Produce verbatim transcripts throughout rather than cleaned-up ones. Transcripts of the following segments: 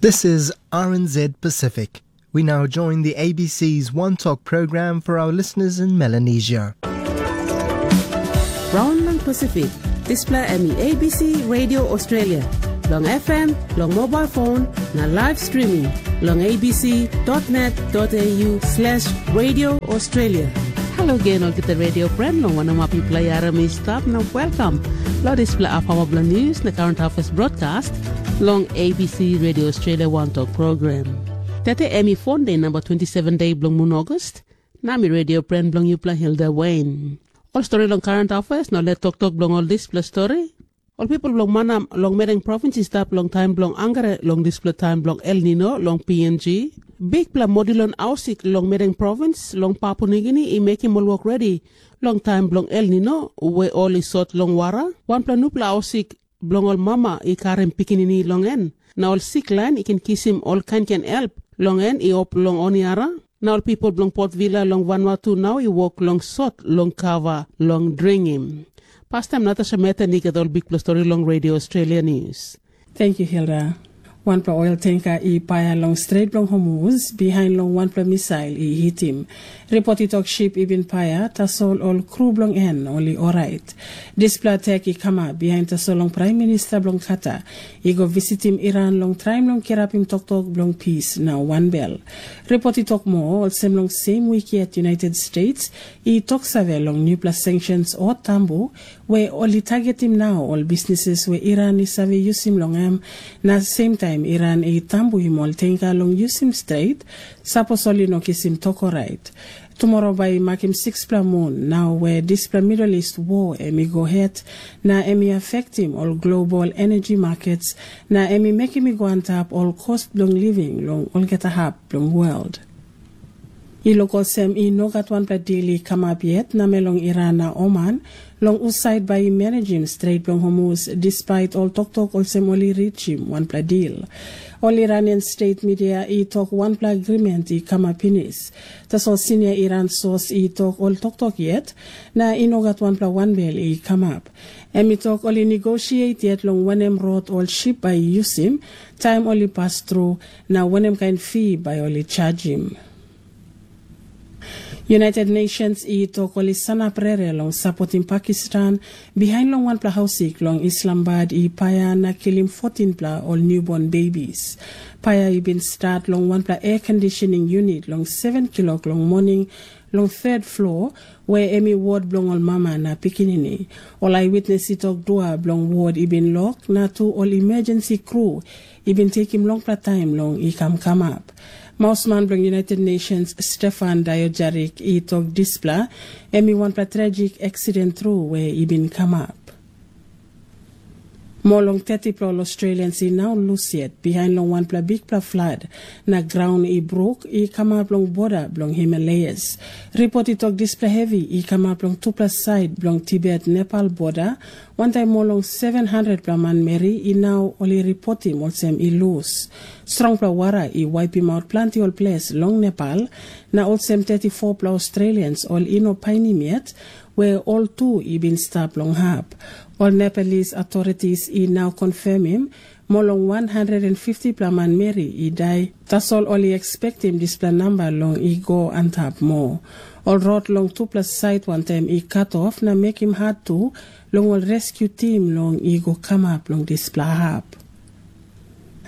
This is R N Z Pacific. We now join the A B C's One Talk program for our listeners in Melanesia. Raun long Pacific, dispela em i A B C Radio Australia, long F M, long mobile phone, na live streaming long A B C dot net dot A U slash Radio Australia. Halo gen olgeta radio friend, long wanem ap yupela i harim i stap na welcome. Lo dispela apawa bilong news na current affairs broadcast long A B C Radio Australia One Talk program. Tete em i phone day number twenty-seven day bilong mun August, na mi radio friend bilong yupela Hilda Wayne. Ol story long current affairs na let toktok bilong ol dispela story. Ol pipel bilong manam long Mereng provins i stap long taim bilong angare long dispela taim bilong El Nino long P N G. Bikpela modilon ausik long Mereng provins long Papua Nigini i mekim ol wok redi long taim bilong El Nino, we ol i sot long wara. Wanpela nupela ausik bilong ol mama i karim pikinini long en, na ol sik lain i ken kisim ol kainkain help long en i op long oniara. Na ol pipel bilong Port Vila long Vanuatu nau i wok long sot long kava long dringim. Pastam Natasha Meten i gat ol bikpela stori long Radio Australia News. Thank you, Hilda. Wanpela oil tanker i paia long Strait bilong Hormuz, behind long wanpela misail i hitim. Report i tok ship i bin paia, tasol ol kru bilong en ol i orait. Dispela attack i kamap bihain tasol long Prime Minister bilong Qatar i go visitim Iran long traim long kirapim toktok bilong pis na wanbel. Report i tok moa olsem long same wik yet United States i toksave long nupela sanctions o tambu, we ol i targetim nau ol bisnises we Iran i save yusim long em, na semtaim Iran i tambuim ol tenga long yusim stret, sapos ol i no kisim tok orait. Tumora bai i makim sikspela mun nau we dispela Middle East wo em i go het, na em i afektim ol global energy markets, na em i mekim i go antap ol cost bilong living long olgeta hap bilong world. I luk olsem i no gat wanpela dil i kamap yet namel long Iran na Oman, long husait bai i manejim Strait bilong Hormuz, despait ol toktok olsem ol i richim wanpela dil. Ol Iranian state media i tok wanpela agreement i kamap pinis. Tasol sinia Iran sos i tok ol toktok yet, na i no gat wanpela wanbel i kamap. Em i tok ol i negosiet yet long wanem rot ol ship bai i yusim, taim ol i pas tru, na wanem kain fi bai ol i chajim. United Nations i tok ol i sanap rere long sapotim Pakistan, bihain long wanpela hausik long Islamabad i paia na kilim fotinpela ol newborn babies. Paia i bin stat long wanpela air conditioning unit long seven kilok long moning, long third floor, we em i wod bilong ol mama na pikinini. Ol eyewitness i tok dua bilong wod i bin lok, na tu ol emergency crew i bin tekim longpela taim long i kam kamap. Mausman bilong United Nations, Stefan Diojarik, i tok dispela em i wanpela tragic accident tru we i bin kamap. Moa long thirty pela ol Australians i nau lus yet, bihain long wanpela bikpela flood, na graun i bruk i kamap long boda bilong Himalayas. Ripot i tok dispela hevi i kamap long tupela sait bilong Tibet Nepal boda, wantaim moa long seven hundred pela manmeri i nau ol i ripotim olsem i lus. Strongpela wara i waipim aut planti ol ples long Nepal, na olsem thirty four pela Australians ol i no painim yet, we ol tu i bin stap long hap. Ol Nepalese authorities i nau confirmim, moa long one hundred and fifty pela manmeri i dai, tasol ol i expectim dispela namba long i go antap moa. Ol rot long tupela sait wantaim i cut off na mekim hat tu long ol rescue team long i go kamap long dispela hap.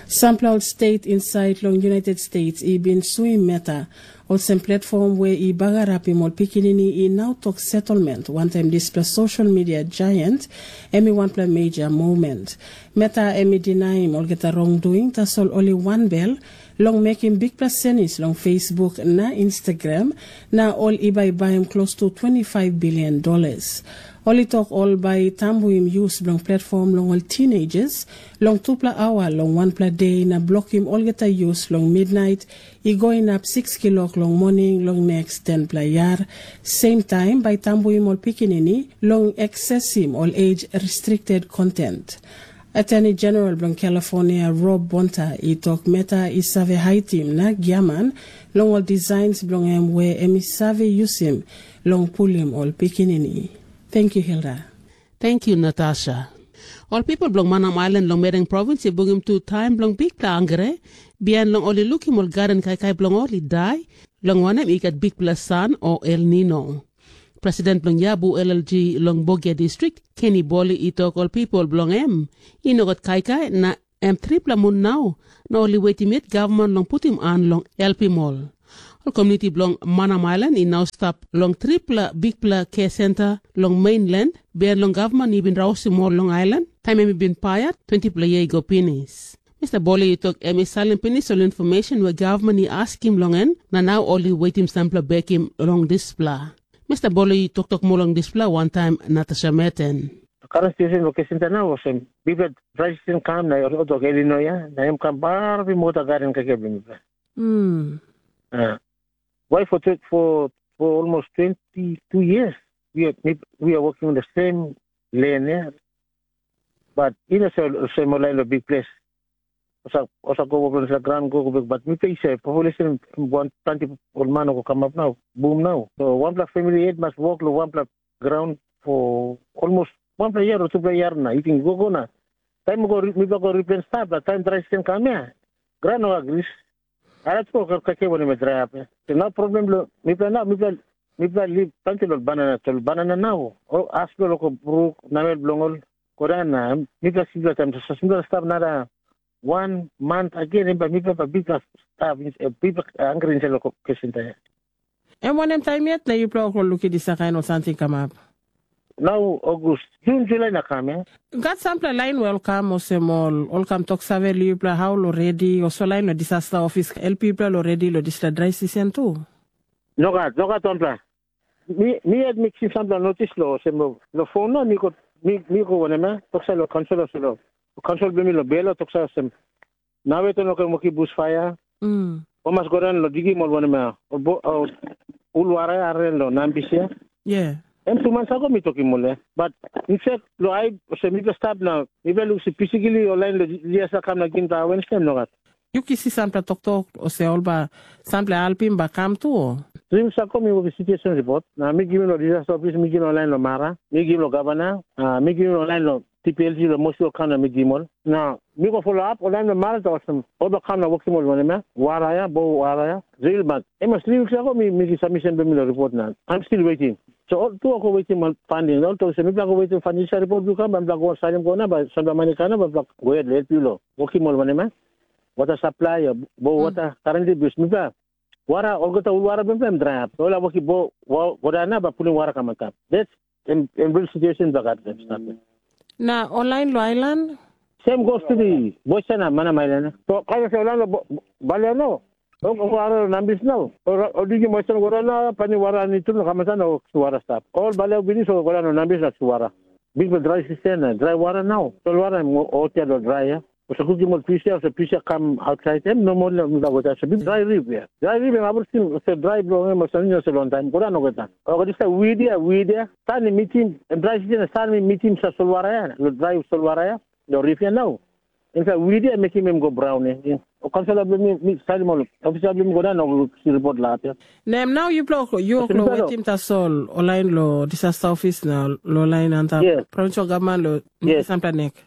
Sampela ol state insait long United States i bin suim Meta, olsem platform we i bagarapim ol pikinini i nau tok settlement wantaim dispela social media giant, em i wanpela major moment. Meta em i dinaim olgeta wrongdoing, tasol ol i wanbel long mekim bikpela senis long Facebook na Instagram, na ol i bai baim klostu twenty five billion dollars. Ol i tok ol bai tambuim yus bilong platform long ol teenagers long tupela aua long wanpela de na blokim olgeta yus long midnait i go inap six kilok long moning long next tenpela yar. Sem taim bai tambuim ol pikinini long aksesim ol age restricted content. Attorney General bilong California, Rob Bonta, i tok Meta i save haitim na giaman long ol designs bilong em we em i save yusim long pulim ol pikinini. Thank you, Hilda. Thank you, Natasha. Ol pipel bilong Manam Ailan long Mereng provins i bungim tu taim bilong bikpela hangre, bihain long ol i lukim ol gaden kaikai bilong ol i dai, long wanem, i gat bikpela san o El Nino. President bilong Yabu L L G long Bogia distrik, Kenny Boli, i tok ol pipel bilong em i no gat kaikai, na em tripela mun nau, na ol i wetim yet gavman long putim han long helpim ol. Ol komuniti bilong Manam Ailan i nau stap long tripela bikpela ke senta long mainland, bihain long gavman i bin rausim ol long ailan, taim em i bin paia twentipela yia i go pinis. Mista Boli i tok em i salim pinis ol infomeshen we gavman i askim long en, na nau ol i wetim sampela bekim long dispela. Mista Boli i toktok moa long dispela wantaim Natasha Meten. Karan station location ta na olsem, bikpela dry season kam na oto Illinois ya, na em kam bar bi mota gaden kaikai bilong mipela. Mm. Uh, why for, tw- for, for almost twenty-two years, we are, we are working on the same land, yeah? But you know, so, so more like a big place. Osa, osa go over the ground, go, go back. But we pay say population one twenty old man go come up now, boom now. So one plus family eight must work lo one plus ground for almost one plus year or two plus year na. You think go, go na. Time go, we go replace stuff, but time dry season come here. Ground no agrees. Alat ko ka ka ke wani me dry up. So no problem lo, mipela nau, mipela, mipela live tangke lo banana, so banana nau. O as lo ko bruk, namel bilong ol, kodan na, mipela sipela taim, so sipela stap nada one month again, em ba mipela ba bikpela stap, bikpela angre inside lo ko kesin taim. Em wanem taim yet na yupela ol lukim dispela kain ol samting kamap? Nau August, Jun, Julai na kam, ya. Gat sampela lain we ol kam olsem ol, ol kam tok save long yupela hau lo redi, o so lain lo disasta ofis help yupela lo redi lo dispela drai sisen tu? Nogat, nogat wanpela. Mi, mi yet mi kisim sampela notis lo, olsem lo, lo fon na mi go, mi, mi go wanem, ya, toksa lo kansel, olsem lo, kansel bilong mi lo Belo, toksa olsem, Nawe to no ken wokim busfaia. Mm. O mas go daun lo digim ol wanem ya, ol bo, ol ulwara ya are lo nambis ya. Yeah. Em tu mans ago mi tokim ol ya. But in fact, lo ai, olsem mipela stap na, mipela lusim pisikili ol lain lo Jisas kam na gim ta Wednesday, em nogat. Yu kisim sampela toktok, olsem ol ba, sampela helpim ba kam tu, o? Three weeks ago mi wokim situation report, na mi givim lo Jisas ofis, mi givim lo lain lo Mara, mi givim lo gavana, ah, mi givim lo lain lo T P L G lo mosi ol kam na mi givim ol. Na mi go follow up, ol lain lo Mara ta olsem, ol ba kam na wokim ol wanem ya, wara ya, bo wara ya, drill mak. Em mas three weeks ago mi, mi givim submission bilong mi lo report na. I'm still waiting. So ol tu ol go wetim ol funding. Ol tok olsem, mipela go wetim funding, sa report yu kam, ba mipela go salim go na, ba sampela mani kam na, ba mipela go yet lo help yu lo wokim ol wanem ya, water supply, o bo water, currently, because mipela wara, olgeta ul wara bilong em dry up. Ol a wokim bo, wa, go daun na, ba pulim wara kam antap. That's em, em real situation ba gat em stap. Na ol lain lo ailan? Same goes to the Boisana, Manam Island. So, kaya sa ol lain lo bo, Baliano. Ol, ol wara lo nambis nau. Ol, ol diki Boisana go daun na, pani wara ni tu na kam antap na wara stap. Ol Baliao bini so go daun lo nambis na wara. Big dry season, dry wara nau. Ol wara em o, o tia lo dry ya. Olsem kukim ol pisia, olsem pisia kam ausait, em nomo na mipela weta, olsem big dry rip ya. Dry rip em abrusim, olsem dry bilong em, olsem nini olsem long taim, go daun olgeta. Oke, dispela wid ya, wid ya, san i mitim, em dry season san i mitim sa solwara ya, lo dry solwara ya, lo rip ya nau. Em sa wid ya mekim em go braun ya. O kansala bilong mi, mi salim ol, ofisa bilong mi go daun, o si report lahat ya. Na em nau yupela, yu Olsem ol lo yupela. Wetim tasol, ol lain lo disaster office na lo lain antap Yes. Provincial government lo Yes. Sampla nek.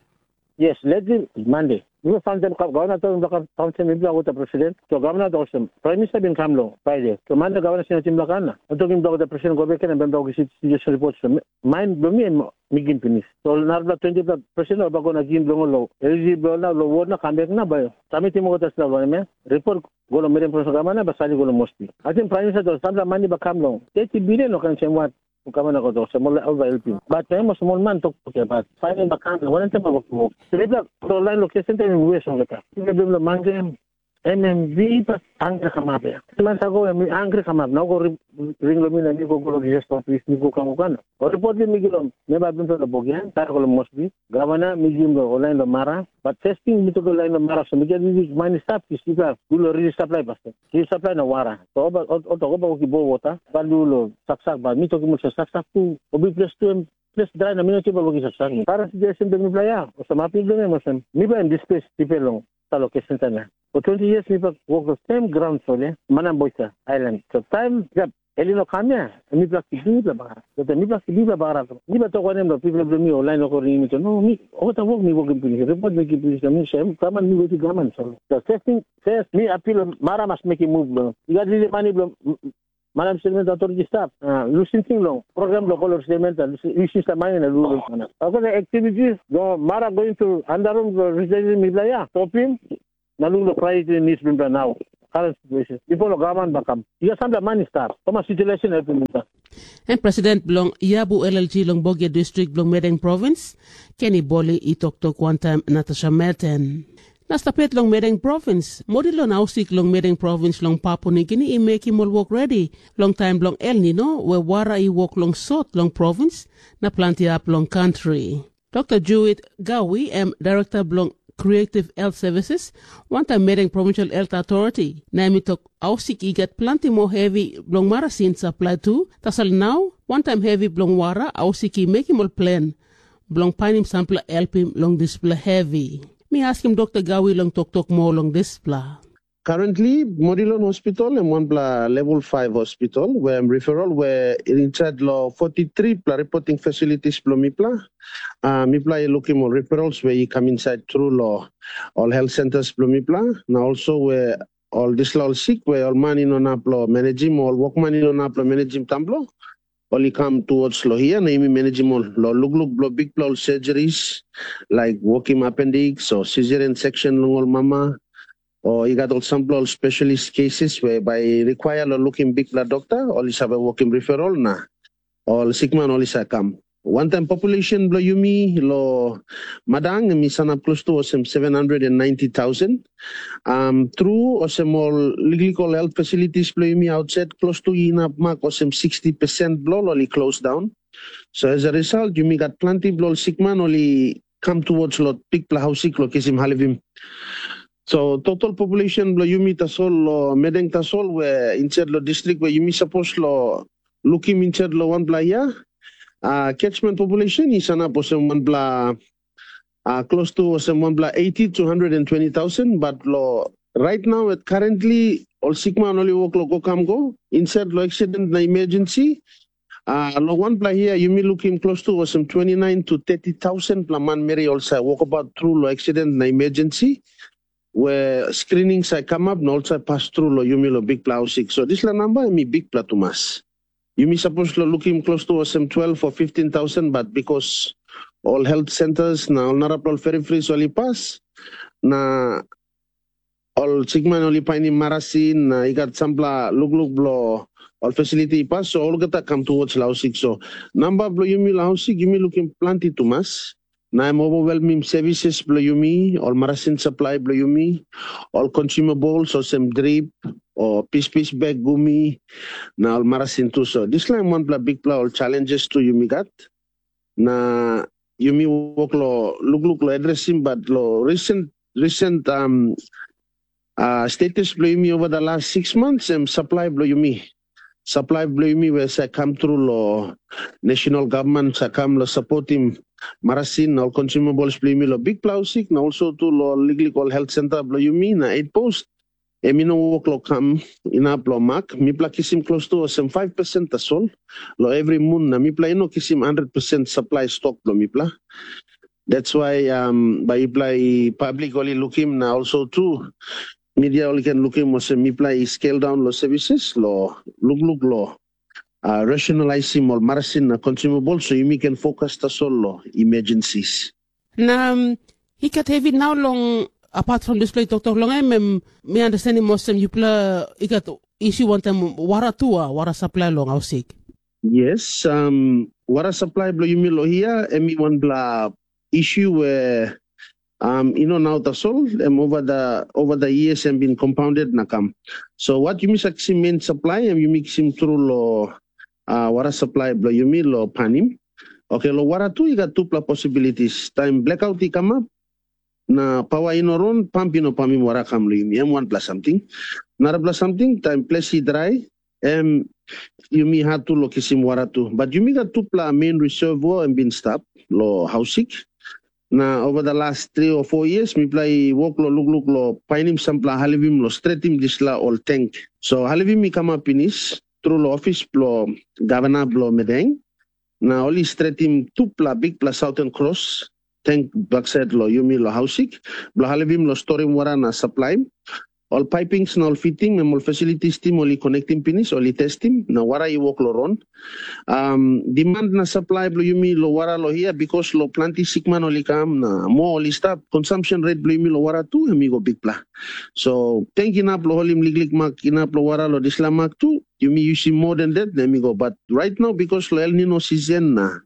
Yes, let's do Monday. Mi go fantem ka gavana tok mi baka fantem mi bla wota president. So gavana tok olsem, Prime Minister bin kam long Friday. So Monday gavana sina tim bla kana. Tok mi bla wota president go beken and bla wisi situation report. So main blo mi and mi gin pinis. So narapela twenty pla president ol ba go na gin bilong ol lo. L G blo na lo wod na kam bek na bai. Submit mo wota sila lo me. Report go lo Meriam Province gavana ba sali go lo Mosbi. I think Prime Minister tok sampla mani ba kam long. Thirty billion no kan sem wat. Gavana go tok, olsem ol bai helpim. Bat em ol smol man tok tok ya, bat fain em bakan, wanem tem bai wok wok. Tripla ol lain lo kesen tem em wes olgeta. Tripla bilong mangem, M M V bat angre kamap ya. Man sa go em angre kamap, na go ring lo mi na mi go go lo Jesus office, mi go kam go kan. O report mi gilo, me ba bin lo bogian, tar go lo Mosbi. Gavana mi gim lo ol lain lo Mara, bat first thing mi tok lo lain lo Mara, so mi get rili mani stap, ki sipla, du lo rili supply basket. Ki supply na wara. So oba, o- oto oba oki bo wota, ba lu lo saksak ba, mi tokim olsem saksak tu, o big place tu em, place dry na mi no kiba woki saksak. Para situation be mi playa, o sa mapi be mi olsem, mi ba em displace people long, sa location sana. For twenty years mi pa work the same ground so le, Manam Boisa Island. So time gap, Em i no kam ya, mipela kip mipela bagarap. Tete mipela kip mipela bagarap. Mipela tok wanem lo pipela bilong mi o lain wok o ringim mi tok. No, mi olgeta wok mi wokim pinis. Report mi kip pinis na mi sem, gaman mi wetim gaman so. So first thing, first mi apil mara mas mekim move bilong. I gat lili mani bilong Madam Statement Authority stap. Uh, lusim ting long program lo kolor statement, lusim sa mani na lulu mana. Olgeta activities, lo mara going to andarum lo residential mipela ya, stopim, na luk lo priority needs bilong nau. Current situation. Before lo gaman bakam. Ia sampela mani stap. Thomas situation helpim mipela. Em president bilong Yabu L L G long Bogio distrik bilong Medeng provins, Kenny Boli i toktok wantaim Natasha Merten. Na stapet long Medeng provins, modi long hausik long Medeng provins long Papua Nigini i mekim ol wok redi long taim bilong El Nino, we wara i wok long sot long provins na planti ap long kantri. Dr. Jewett Gawi, em Director bilong Creative Health Services, wantaim Medeng Provincial Health Authority, na em i tok hausik i gat planti moa hevi bilong marasin saplai tu, tasol nau, wantaim hevi bilong wara, hausik i mekim ol plen bilong painim sampela helpim long dispela hevi. Mi askim Dr. Gawi long toktok moa long dispela. Currently, Modilon Hospital em wanpela level five hospital, where em referral, where inside lo forty-three pla reporting facilities bilong mipela. Uh, mipela i lukim ol referrals where i come inside through lo ol health centers bilong mipela. Na also where ol dispela ol sick, where ol man i no nap lo managing, ol workman i no nap lo managing tamblo. Ol i kam towards lo hia, na yumi managing ol lo lukluk bilong bikpela ol surgeries, like wokim appendix o cesarean section long ol mama, o i gat ol sampela ol specialist cases we bai i require lo lukim bikpela dokta, ol i save wokim referral na ol sikman ol i save kam. Wantaim population bilong yumi lo madang em i sanap klostu olsem seven hundred and ninety thousand. Um, tru olsem ol liklik ol health facilities bilong yumi outset klostu i inap mak olsem sixty percent bilong ol i close down. So as a result, yumi gat planti bilong ol sikman ol i kam towards lo bikpela hausik lo kisim halivim. So total population bilong yumi tasol lo medeng tasol we inside lo distrik we yumi sapos lo lukim inside lo wanpela yia, uh, catchment population i sanap olsem wanpela uh, close to olsem wanpela eighty to hundred and twenty thousand, but lo right now at currently ol sikman ol i wok lo go kam go inside lo accident na emergency. Uh, lo wanpela hia yumi lukim close to olsem twenty-nine to thirty thousand pela manmeri ol sa wokabaut tru lo accident na emergency, we screening sa kamap na ol sa pas tru lo yumi lo bikpela hausik. So dispela namba em i bikpela tumas. Yumi sapos lo lukim close to olsem twelve o fifteen thousand, but because ol health centers na ol narapela ol peripheries ol i pas, na ol sikman ol i painim marasin na i gat sampela lukluk bilong ol facility i pas, so olgeta kam towards lo hausik. So namba bilong yumi lo hausik yumi lukim planti tumas, na em overwhelmim services bilong yumi, ol marasin supply bilong yumi, ol consumables olsem drip, o pispis bek gumi, na ol marasin tu. So dispela em wanpela bikpela ol challenges tu yumi gat, na yumi wok lo lukluk lo adresim, but lo recent recent um, uh, status bilong yumi over the last six months em supply bilong yumi. Supply bilong yumi we sa kam tru lo national government sa kam lo supportim marasin na ol consumables bilong yumi lo bikpela hausik na also tu lo liklik ol health center bilong yumi na eight post. Em i no wok lo kam inap lo mak, mipela kisim close to olsem five percent tasol lo every mun na mipela i no kisim hundred percent supply stock bilong mipela. That's why um, bai yupela i public ol i lukim na also tu media ol i ken lukim olsem mipela i scale down lo services lo lukluk lo uh, rationalizim ol marasin na consumable so yumi ken focus tasol lo emergencies. Na um, i gat hevi nau long apart from dispela i toktok long em, em mi understandim olsem yupela i gat issue wantaim wara tu a wara supply long hausik. Yes, um, wara supply bilong yumi lo hia em i wanpela issue we um, i no nau tasol, em over the, over the years em bin compounded na kam. So wat yumi sa kisim main supply em yumi kisim tru lo uh, wara supply bilong yumi lo panim. Okay, lo wara tu i gat tupela possibilities. Taim blackout i kamap, na pawa i no ron, pamp i no pamim wara kam long yumi, em wanpela samting. Narapela samting, taim ples i drai, em yumi hat tu lo kisim wara tu. But yumi gat tupela main reservoir em bin stap lo hausik. Na over the last three or four years, mipela i wok lo lukluk lo painim sampela halivim lo stretim dispela ol tank. So halivim i kamap pinis, tru long ofis bilong gavana bilong Medeng, na ol i stretim tupela bikpela Southern Cross tank baksait long yumi long Hausik, bilong helpim long storim wara na saplaim. Ol paipings na ol fiting, em ol facilities tim ol i konektim pinis, ol i testim, na wara i wok long ron. Um, demand na supply bilong yumi long wara long hia, because long planti sikman ol i kam na moa ol i stap, consumption rate bilong yumi long wara tu em i go bikpela. So tank inap long holim liklik mak inap long wara long dispela mak tu, yumi yusim more than that na em i go. But right now, because long El Nino season na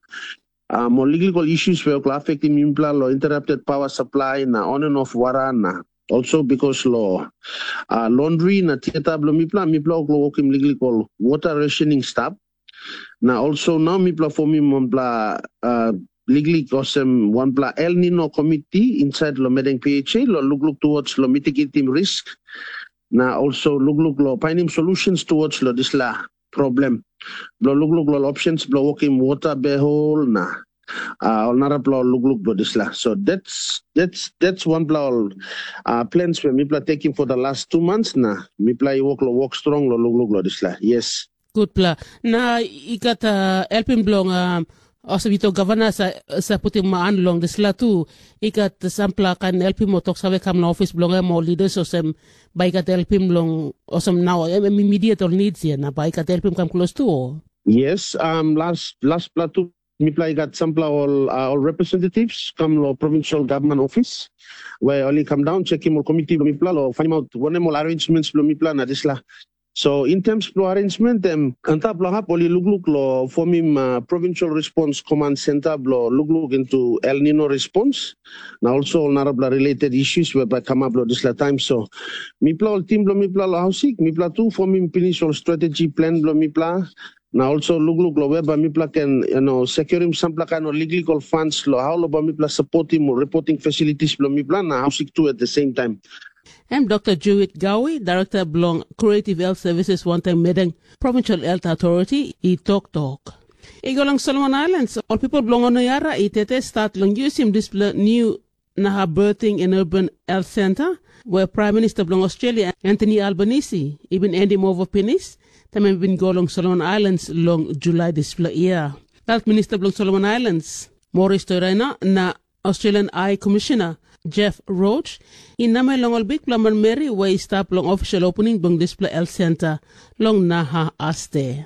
um, ol liklik ol issues we ol afektim yupela long interrupted power supply na on and off wara na also because lo uh, laundry na theater bilong mipela, mipela ol wokim liklik ol water rationing stap. Na also now mipela formim wanpela uh, liklik olsem wanpela El Nino committee inside lo Medeng P H A lo lukluk towards lo mitigating risk. Na also lukluk lo finding solutions towards lo disla problem. Blo lukluk lo options blo wokim water behol na uh, ol narapela ol lukluk blo disla. So that's that's that's one bla ol uh, plans we mipela taking for the last two months na mipela i work lo work strong lo lukluk lo disla. Yes. Gutpela. Na i gat uh, helping bilong um, also bito gavana sa, sa putim an long dispela tu. I gat sampela kain helpim o tok save kam long ofis bilong em o leaders olsem bai i gat helpim long olsem nau em em immediate ol needs ya na bai i gat helpim kam close tu o. Yes, um, last last pla tu mipela i gat sampela ol uh, ol representatives kam lo provincial government office where ol i kam down checkim ol committee bilong mipela lo finding out wanem ol arrangements bilong mipela na disla. So in terms bilong arrangement em antap long hap ol i lukluk lo formim uh, provincial response command center blo lukluk into El Nino response. Na also ol narapela related issues we bai kamap lo dispela taim. So mipela ol tim bilong mipela lo hausik, mipela tu formim pinis ol strategy plan bilong mipela. Na also lukluk lo we bai mipela ken you know, securim sampela kain ol liklik ol funds lo how lo bai mipela supportim ol reporting facilities bilong mipela na hausik tu at the same time. Em Dr. Jewit Gawi, Director bilong Creative Health Services wantaim Medeng Provincial Health Authority, i toktok. I go long Solomon Islands, ol pipel bilong Onoyara i tete stat long yusim dispela niu Naha Birthing and Urban Health Center, where Prime Minister bilong Australia, Anthony Albanese, i bin endim ova pinis, taim em bin go long Solomon Islands long Julai dispela year. Health Minister bilong Solomon Islands, Morris Toiraina, na Australian High Commissioner Jeff Roach i namel long ol bikpela manmeri we i stap long official opening bilong dispela health center long Naha Aste.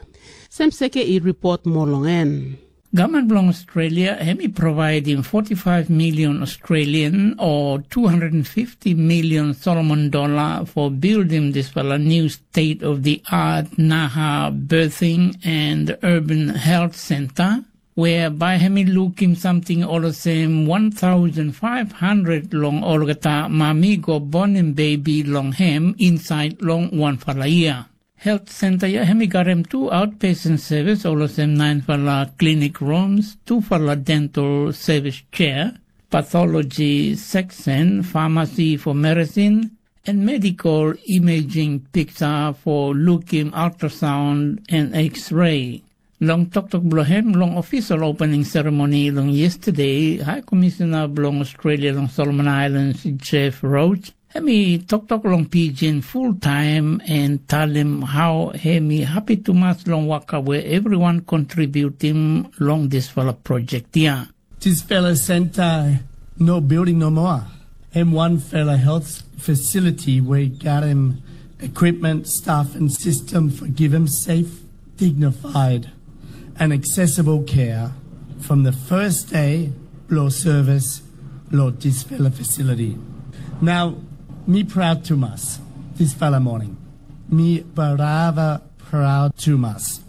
Sem seke i report moa long en. Government bilong Australia em i providim forty-five million Australian o two hundred fifty million Solomon dollar for building dispela new state of the art Naha Birthing and Urban Health Center whereby em i lukim samting olsem one thousand five hundred long olgeta mami go bonim bebi long em insait long wanfala yia. Health Center ya em i garim tu outpatient service olsem nainfala clinic rooms, tufala dental service chair, pathology section, pharmacy for medicine, and medical imaging picture for looking ultrasound and x-ray. Long toktok bilong em long official opening ceremony long yesterday, High Commissioner bilong Australia long Solomon Islands, Jeff Roach, em i toktok long Pidgin full time and talim how em i happy tumas long waka we everyone contributim long dispela project ya. Dispela center no building no more. Em wanfela health facility we garim equipment, staff and system for giving safe, dignified and accessible care from the first day lo service lo dispela facility. Now, mi proud tumas dispela morning. Mi barava proud tumas.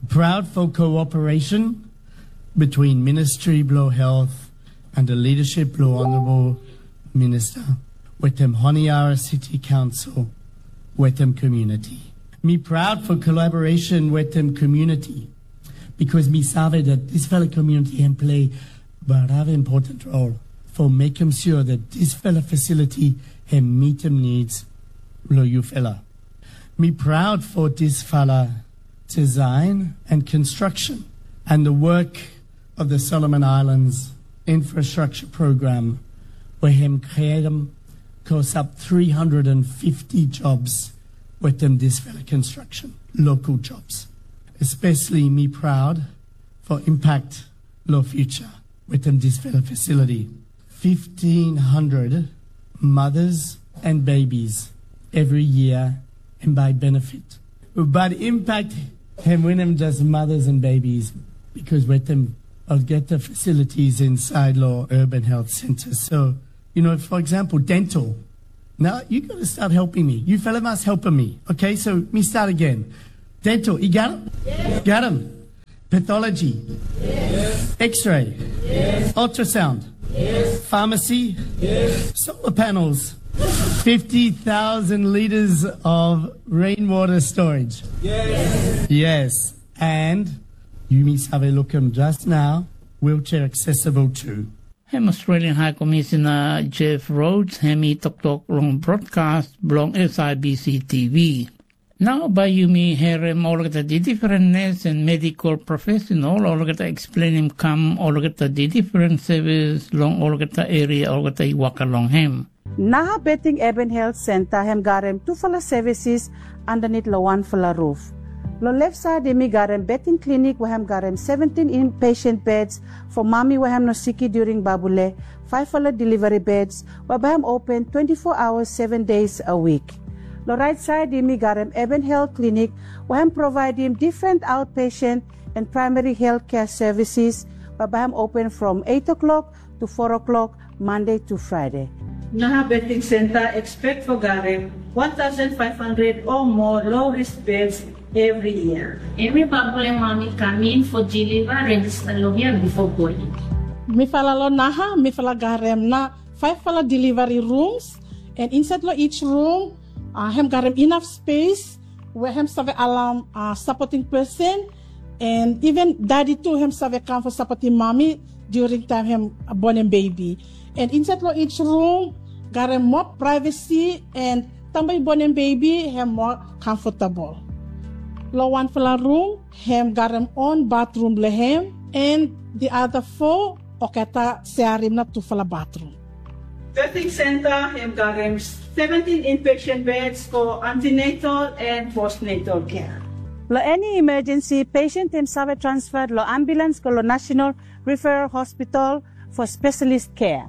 Proud for cooperation between Ministry Below Health and the leadership below Honorable Minister, with them Honiara City Council, with them community. Me proud for collaboration with them community, because me save that this fellow community can play but have important role for making sure that this fellow facility can meet them needs lo you fella. Me proud for this fellow design and construction and the work of the Solomon Islands infrastructure program, where him created close up three hundred fifty jobs within this fellow construction, local jobs. Especially me proud for impact lo future wetem dispela facility. Fifteen hundred mothers and babies every year and by benefit. But impact hem winem just mothers and babies because wetem olgeta facilities inside lo urban health centers. So, you know, for example, dental. Now you got to start helping me. You fella must help me. Okay, so me start again. Dental, you got him? Got him. Pathology. X-ray. Ultrasound. Pharmacy. Solar panels. Fifty thousand liters of rainwater storage. Yes. And you mean have a look him just now. Wheelchair accessible too. Hem Australian High Commissioner Jeff Rhodes hem i toktok long broadcast bilong S I B C T V. Nau bai yumi herim olgeta different nes and medical professional olgeta explainim kam olgeta different service long olgeta area olgeta i waka long hem. Naha Beting Eben Health Center hem garem tufala services underneath lo wanfala roof. Lo left side yumi garem beting clinic wahem garem seventeen inpatient beds for mami wahem no siki during babule, five fala delivery beds, wabahem open twenty-four hours seven days a week. Lo right side yumi garem Eben Health Clinic wahem providim different outpatient and primary health care services, wabahem open from eight o'clock to four o'clock Monday to Friday. Naha Beting Center expect for garem one thousand five hundred or more low risk beds every year. Every babule mami coming for deliver register lo here before going. Mifala lo naha, mifala garem na five fala delivery rooms, and inside lo each room, uh, hem garem enough space where hem save alam uh, supporting person, and even daddy too hem save kam for supporting mami during time hem born and baby. And inside lo each room, garem more privacy and tambai born and baby hem more comfortable. Lo wanfala room, hem garem own bathroom lehem, and the other four oketa sharim na tufala bathroom. Birthing Center hem garem seventeen inpatient beds for antenatal and postnatal care. Lo any emergency, patient hem save transfer lo ambulance go lo National Referral Hospital for specialist care.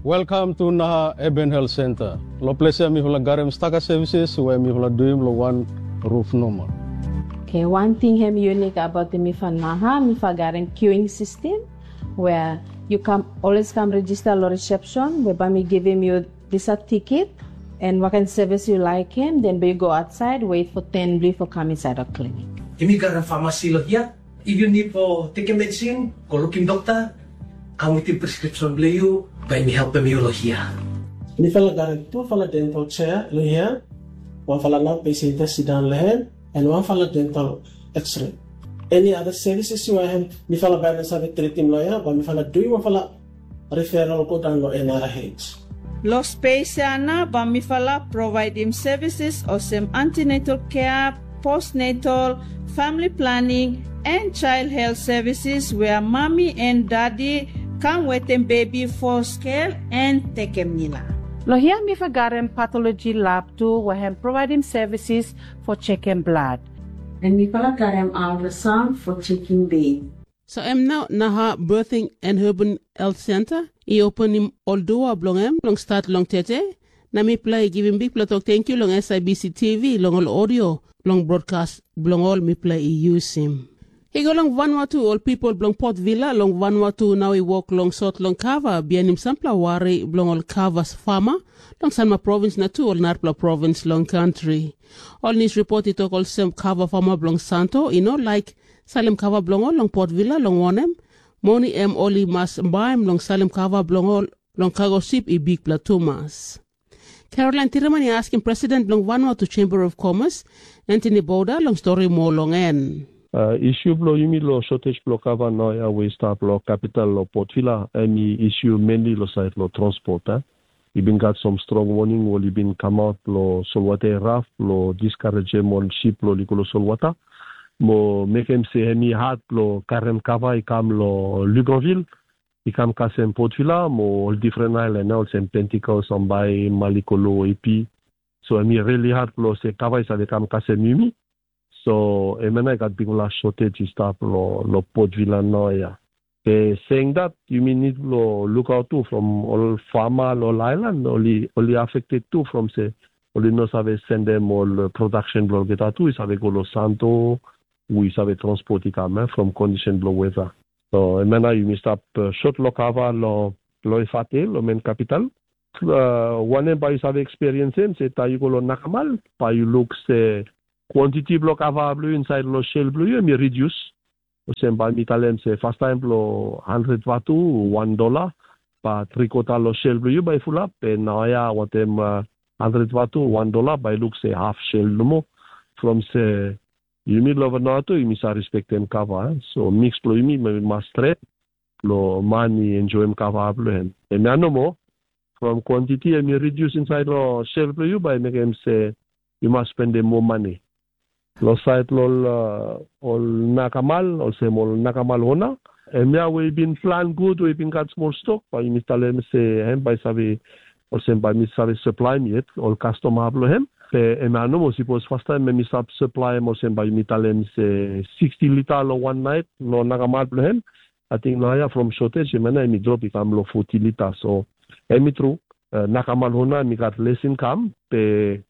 Welcome to Naha Eben Health Center. Lo ples ya mifala garem staka services where mifala duim lo one roof normal. Okay, one thing hem unique about the Mifa Naha, Mifa garem queuing system where you come always come register lo reception where by me giving you this a ticket and what kind of service you like him, then you go outside, wait for ten blue for come inside a clinic. Yumi garem pharmacy lo here. If you need for take a medicine, go looking doctor, come with your prescription blue you, by me help you lo here. Mifala garem tufala dental chair lo here, wanfala nau patient sit down lehem, and wanfala dental x-ray. Any other services you want, mifala bai na save treatim lo here, but mifala do you wanfala referral go down lo N R H. Lo space ya na ba mifala providim services osem antenatal care, postnatal, family planning, and child health services where mommy and daddy come with them baby for scale and take them nila. Lo here mi fa garem pathology lab tu wahem providim services for checking blood. And mi fa garem ultrasound for checking baby. So em nau Naha Birthing and Urban Health Center i openim ol dua bilong em long stat long tete, na mipela i givim bikpela tok tenkyu long S I B C T V long ol audio long broadcast bilong ol mipela i yusim. I go long Vanuatu, ol pipel bilong Port Vila long Vanuatu nau i wok long sot long kava bihainim sampela wari bilong ol kava fama long Sanma provins na tu ol narapela provins long kantri. Ol nius ripot i tok olsem kava fama bilong Santo i no laik salim kava bilong ol long Port Vila, long wanem, moni em ol i mas baim long salim kava bilong ol long kago sip i bikpela tumas. Caroline Tiraman i askim president bilong Vanuatu Chamber of Commerce, Anthony Bouda, long stori moa long en. Uh, isu bilong yumi long shortage bilong kava nau ya we i stap long kapital long Port Vila, em i isu mainly long sait long transport. Eh? I bin gat some strong warning ol i bin kamaut long solwata i raf long diskarejem ol sip long i go long solwata. Mo mekim se em i hat long karim kava i kam long Luganville, i kam kasem Port Vila mo ol different island olsem Pentecost, Ambai, Malikolo, Epi. So em i really hat long se kava i save kam kasem yumi. So em i gat bikpela shortage i stap lo, lo Port Vila nau ya. Be saying that, yumi need lo look out tu from ol farmer lo island, oli, oli affected tu from se, oli no save sendem ol production blo olgeta tu, i save go lo Santo, we save transport i kam, eh, from condition blo weather. So, emena yumi stap uh, short lo kava lo, lo Efate, lo main capital. Uh, wanem bai yu save experience em, se ta yu go lo Nakamal, bai yu look se quantity blo kava blo yu inside lo shell blo yu, em i reduce. Olsem bai mi talem se first time blo hundred vatu, one dollar, ba three quarter lo shell blo yu bai fulap, pe nau ya wantem uh, hundred vatu, one dollar, bai look se half shell nomo. From se yumi lo Vanuatu, yumi sa respectem kava, eh? So mix blo yumi mas stret, lo man i enjoyim kava blo hem. Em ya nomo, from quantity em i reduce inside lo shell blo yu, bai mekim se yu mas spendem mo mani. Lo sait lo ol, uh, ol nakamal, olsem ol nakamal ona. Em ya we i bin plan gut, we i bin gat smol stok, bai mi talem se em bai save, olsem bai mi save supply mi yet, ol customer blo hem. Pe em ya nomo, sipos first time em i sap supply em, olsem bai mi talem se sixty liter lo one night, lo nakamal blo hem. I think nau ya from shortage, em ya em i drop i kam lo forty liter. So, em i tru, uh, nakamal ona em i gat less income, pe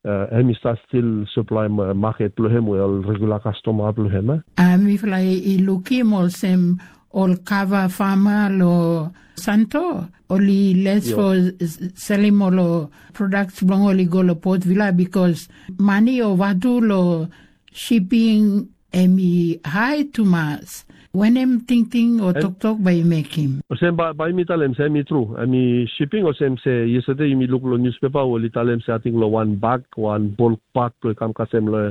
uh, em i start still supply ma- market blo hem, we ol regular customer blo hem, eh? Uh, mifala i lukim olsem ol kava farmer lo Santo, oli les for s- selling ol products blo oli go lo Port Vila because mani o vatu lo shipping em i high tumas. Wanem tingting o toktok bai i mekim? Olsem ba, bai mi talem se em i tru. Em i shipping, olsem se yesterday yumi luk lo newspaper, ol i talem se ating lo wan bag, wan bulk bag, lo i kam kasem lo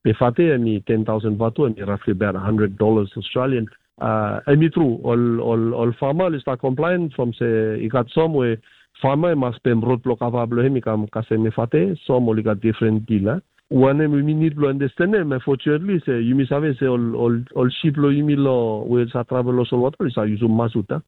Efate, em i ten thousand vatu, em i roughly about hundred dollars Australian. Uh, em i tru, ol, ol, ol farmer i start complain from se i gat som we farmer i mas pem rot blo kava blo hem i kam kasem Efate, som ol i gat different deal, eh? Wanem yumi need blo understand em, unfortunately, se yumi save se ol, ol, ol ship lo yumi lo, we sa travel lo solwata, ol sa yusum masuta.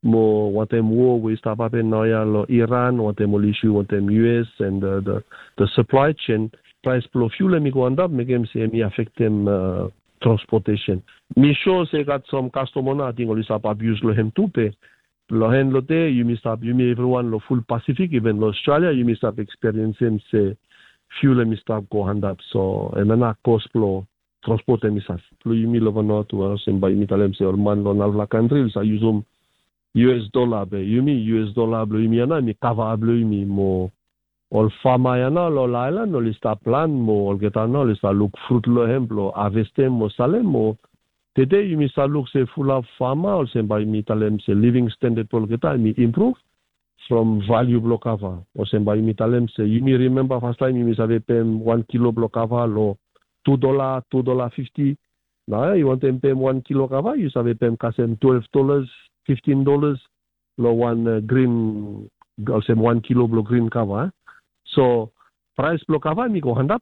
Mo wantem wo we i stap hapen nau ya lo Iran, wantem ol issue wantem U S and the, the, the supply chain, price blo fuel em i go andap, mekim se em i affectem uh, transportation. Mi sure se gat some customer na, ating ol i stap abuse lo hem tu pe. Lo hen lo te, yumi stap, yumi everyone lo full Pacific, even lo Australia, yumi stap experience em se fuel em i stap go handap. So, em na cost blo transport em i sas. Lo yumi lo Vanuatu, olsem bai yumi talem se ol man lo nalpela country, sa yusum U S dollar be, yumi U S dollar blo yumi ana, mi kava blo yumi mo ol farmer ya na lo island, ol i stap plan mo olgeta na ol i stap luk frut lo hem blo harvestem mo salem mo. Tede yumi sa luk se fulap farmer, olsem bai mi talem se living standard blo olgeta em i improve from value blo kava. Olsem bai mi talem se yumi remember first time yumi save pem wan kilo blo kava lo two dollar, two dollar fifty. Na yu wantem pem wan kilo kava, yu save pem kasem twelve dollars, fifteen dollars, lo wan uh, green, olsem wan kilo blo green kava. So price blo kava mi go handap,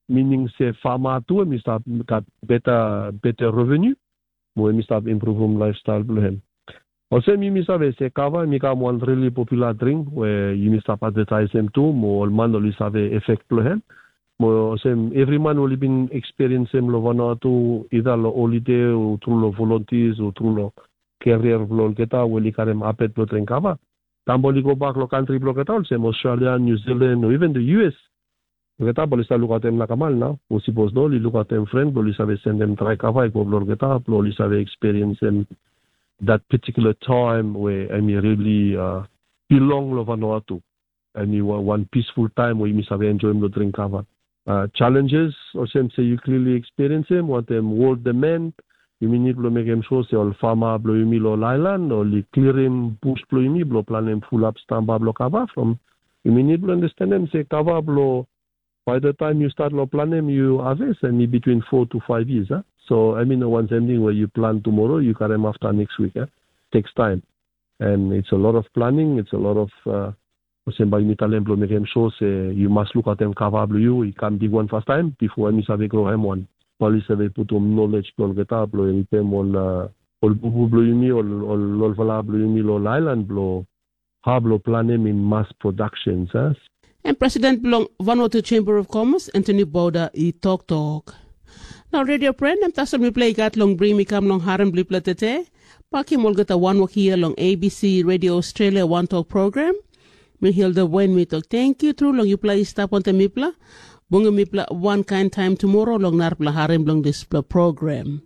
meaning se farmer tu em i stap gat better, better revenue, mo em i stap improvim lifestyle blo hem. Olsem yumi save se kava em i kam wan really popular drink we yumi stap advertise em tu, mo ol man ol i save effect blo hem. Mo olsem every man ol i bin experience em lo Vanuatu, either lo holiday, o tru lo volunteers, o tru lo career blo olgeta, ol i karim habit blo drink kava. Tambo ol i go bak lo country blo olgeta, olsem Australia, New Zealand, o even the U S. Olgeta ol i stap lukautim nakamal nau. O sipos no, ol i lukautim friend, ol i save sendem drai kava i go blo olgeta, blo ol i save experience em that particular time where em i really uh, belong lo Vanuatu. Em i wa- one peaceful time where yumi save enjoy lo drink kava. Uh, challenges, olsem se you clearly experience em, wantem world demand, yumi need lo mekim sure se ol farmer blo yumi lo island, ol i clearim bush blo yumi, blo planim fulap stamba blo kava from, yumi need lo understand em se kava blo by the time you start lo planim, you harvest, em i between four to five years, huh? So, I mean, one same thing where you plant tomorrow, you karim after next week, huh? Takes time. And it's a lot of planning, it's a lot of, uh, olsem bai mi talem blo mekim sure se you must look at em kava blo you, i kam big one first time, before em i save grow hem one. Ol i save putum knowledge blo olgeta blo helpim ol, uh, ol bubu blo yumi, ol, ol, ol fala blo yumi, lo island blo hap lo planim in mass productions, eh? Em president bilong Vanuatu Chamber of Commerce, Anthony Bouda, i toktok. Ol radio pren, em tasol mipela i gat long bring mi kam long harim bilipela tete. Pakim olgeta wanwok hia long A B C Radio Australia One Talk Program. Mi Hilda Wen mi tok tenkyu tru long yupela i stap wantaim mipela. Bungim mipela wankain taim tumora long narapela harim bilong dispela program.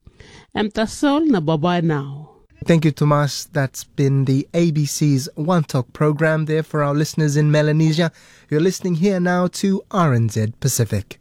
Em tasol na babai nau. Thank you, Tomas. That's been the A B C's One Talk program there for our listeners in Melanesia. You're listening here now to R N Z Pacific.